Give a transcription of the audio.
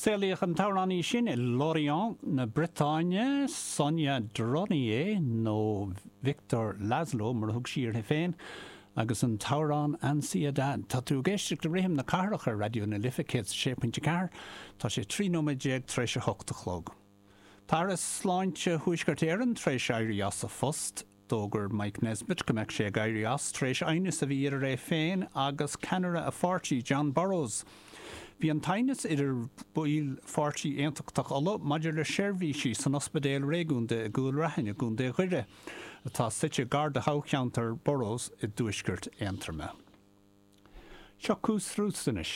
Saolaíodh an t-amhránaí sin i Lorient na Briotáine, Sonia Dronnier, nó Victor Laszlo mar a thug sí uirthi féin, agus an t-amhrán Ansiedad. Tá tú ag éisteacht le Rithim na Cathrach ar Raidió na Life 106.4. Tá sé 13 nóiméad tar éis a hocht a chlog. Tá Aire Sláinte Thuaisceart Éireann tar éis éirí as a phost. D'fhógair Mike Nesbitt go mbeadh sé ag éirí as tar éis aighneas a bhí idir é féin agus ceannaire a pháirtí, Jon Burrows. Bhí an t-aighneas idir baill Pháirtí Aontachtach Uladh maidir le seirbhísí san ospidéal réigiúnda i gCúil Raithin i gContae Dhoire, atá suite gar do thoghcheantar Burrows i dtuaisceart Aontroma. Seo Coos Roots anois.